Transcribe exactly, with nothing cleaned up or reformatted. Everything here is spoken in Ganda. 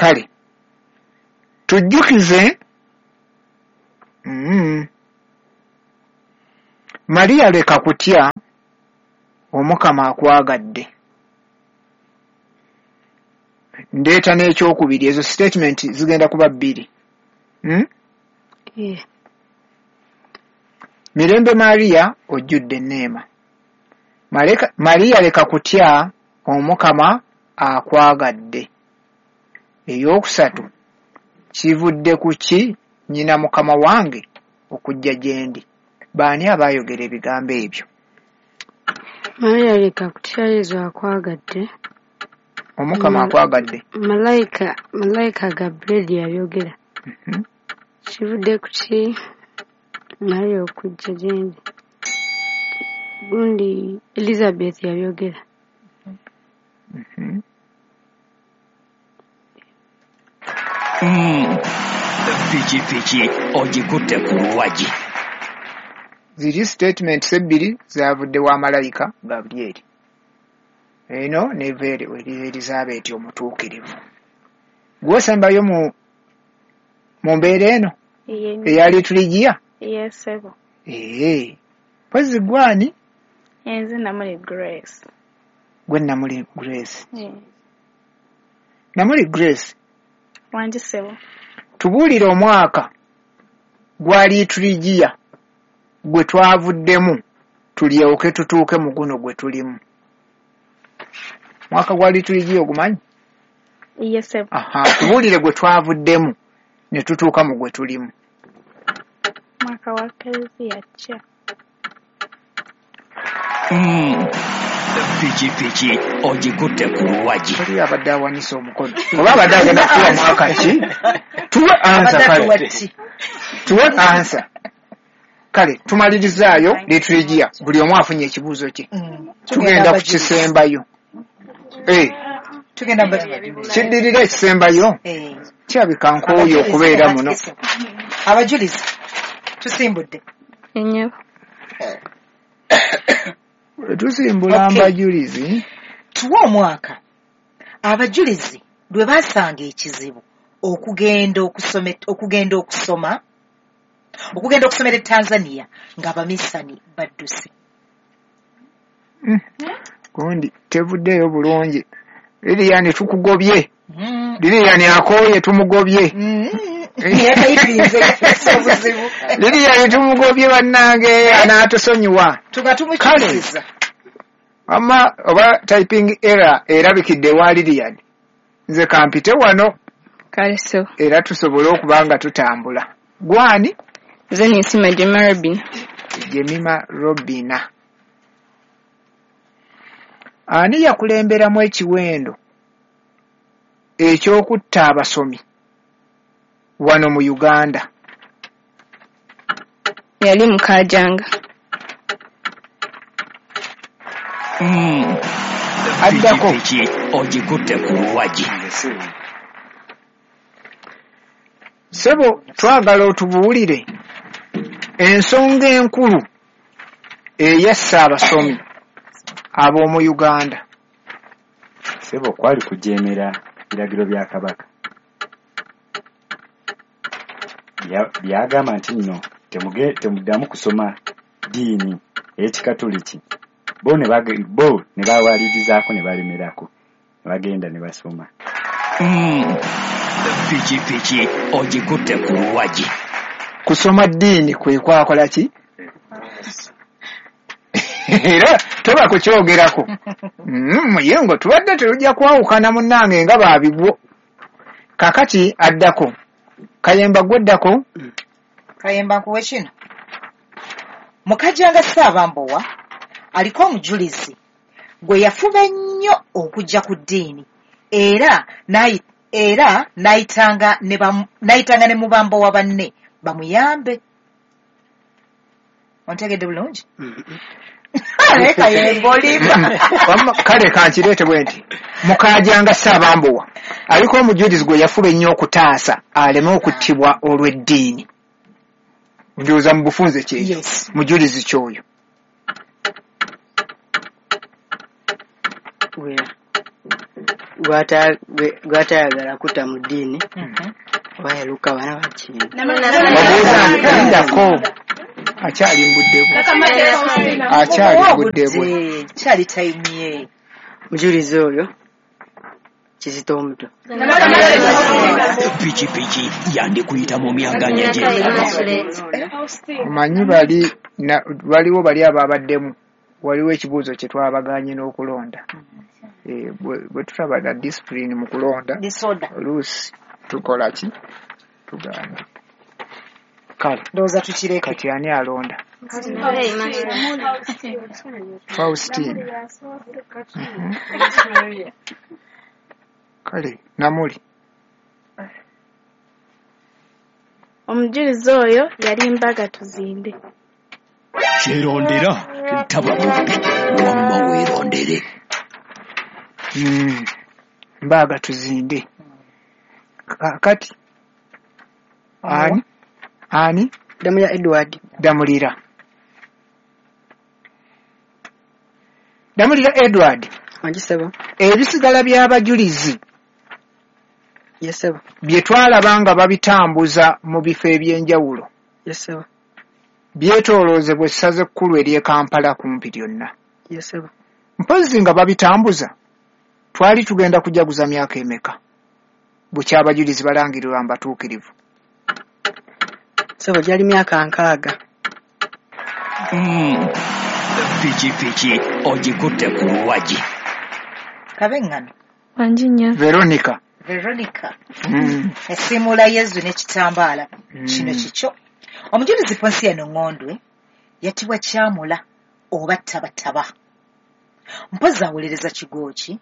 Kale tujjukize mm. Maria leka kutya, Omukama akwagadde. Ndeeta n'ekyokubiri, ezo statement zigenda kuba bbiri. Hmm? Yeah. Mirembe Maria ojjudde enneema. Maleka, Maria leka kutya, Omukama akwagadde. Ey'okusatu, kivudde ku ki nnyina Mukama wange okujja gye ndi? Baani abaayogera ebigambo ebyo? Maria leka kutya, Yesu akwagadde. Omukama Ma- akwagadde. Malayika Malayika Gabriel yayogera. Mhm. Kivudde ku ki Maria okujja gye ndi? Gundi Elizabeth yabyogera. Mhm. Mm. Pikipiki ogikutte ku luwagi. Ziri statements ebbiri zavudde wa malayika Gabriel. Eno neva eri eri Elizabeth omutuukirivu. Gw'osembayo mu mu mbeera eno Ye eya liturujia? Ye ssebo. Ee. Mpozzi gw'ani? Nze Namuli Grace. Gwe Namuli Grace. Eh, Namuli Grace, Wangi ssebo. tubuulire omwaka gwa liturujia gwe twavuddemu tulyoke tutuuke mu guno gwe tulimu. Mwaka gwa liturujia ogumanyi? Ye ssebo. Aha, tubuulire gwe twavuddemu ne tutuuka mu gwe tulimu. Mwaka wa Klezia kya. Mm. Pikipiki ogikutte ku luwagi. Oli abadde awanise omukono oba abadde agenda kutuwa mwaka ki? Tuwe ansa Abadde kale. atuwa ki? Tuwe ansa. Kale tumalirizaayo liturujia, buli omu afunye ekibuuzo kye. Mm. Tugenda ku abajulizi. kisembayo. Eh, Tugenda mu bajulizi. kiddirira ekisembayo Eh. kirabika nkooye okubeera muno. Abajulizi tusimbudde. Ennyabo. Tusimbula Okay. mbajulizi. Tuwe omwaka abajulizi lwe baasanga ekizibu okugenda okusome okugenda okusoma okugenda okusomera e Tanzania ng'abamisani badduse. Mm. Gundi tevuddeeyo bulungi. Lilian tukugobye. Mm. Lilian akooye tumugobye. Mm. Yatayipinze obuzibu. Lilian tumugobye bannange anaatusonyiwa. Tuba tumukyusiza. Amma oba typing error erabikidde wa Lilian. Nze kampite wano Kale ssebo. era tusobole okuba nga tutambula. Gwani? Nze Ninsiima Jemima Robina. Jemima Robina. Ani yakulemberamu ekiwendo eky'okutta abasomi wano mu Uganda? Yali Mukaajanga. Mm. Addako. Pikipiki ogikutte ku luwagi. Ssebo twagala otubuulire ensonga enkulu eyassa abasomi ab'omu Uganda. Ssebo kwali kujeemera biragiro bya Kabaka. Bya- Byagamba nti nno temuge- temuddamu kusoma ddiini ey'Ekikatoliki. Bo ne bage- bo ne bawalirizaako ne balemerako ne bagenda ne basoma. Mm. Pikipiki ogikutte ku luwagi. Kusoma ddiini kwe kwakola ki? Era toba kukyogerako. Mm, muyengo tubadde tetujja kwawukana munnange nga baabigwo. Kaakati addako. Kayemba gweddako. Kayemba nkuwe kino. Mukajjanga Ssaabambowa aliko omujulizi gwe yafuba ennyo okujja ku ddiini era n'ayi- era n'ayitanga ne bamu- n'ayitanga ne mubambowa banne bamuyambe. Ontegedde bulungi? Naye Kayemba olimba. Wamma kale kankireete bwe nti Mukaajanga Ssaabambowa aliko omujulizi gwe yafuba ennyo okutaasa aleme okuttibwa olw'eddiini. Ndowooza mu bufunze kyekyo. Yes. Mujulizi ky'oyo. Wera. gw'ata- gwe- gw'atayagala kutta mu ddiini Mhm. oba yaluka bana bakintu. Babuuza lindako, akyali mbudde bwe, akyali mbudde bwe. Obudde kyali tayimu ye. Omujulizi oyo Kizito omuto. Pikipiki yandikuyita mu myaganya gy'engalo. Omanyi bali na- waliwo bali ababaddemu, waliwo ekibuuzo kye twabagaanye n'okulonda. Eh, bwe bwe tutaba na discipline mu kulonda, Disorder. oluusi tukola ki? Tugaana. Kale Ndowooza tukireke. kati ani alonda? Faustine. Mhm. Kale Namuli. Omujulizi oyo yali Mbaga Tuzinde. Kyerondera taba mubbi, wamma weerondere. Mm. Mbaga Tuzinde. Kaakati ani ani Ddamulira Edward. Damulira. Damulira Edward. Wangi ssebo. Ebisigala by'abajulizi Ye ssebo. bye twalaba nga babitambuza mu bifo eby'enjawulo Ye ssebo. byetooloozebwa essaza ekkulu ery'e Kampala kumpi lyonna. Ye ssebo. Mpozzi nga babitambuza twali tugenda kujaguza myaka emeka bukya abajulizi balangirirwa mbatuukirivu? Ssebo gyali myaka nkaaga. Mm. Pikipiki ogikutte ku luwagi. Kabeŋŋano. Wangi nnyo. Veronica. Veronica. Mm. Esiimuula Yezu n'ekitambaala. Mm. Kino kikyo. Omujulizi Ponsiano Ŋŋondwe yattibwa Kyamula oba Tabataba. Mpozzi awolereza kigo ki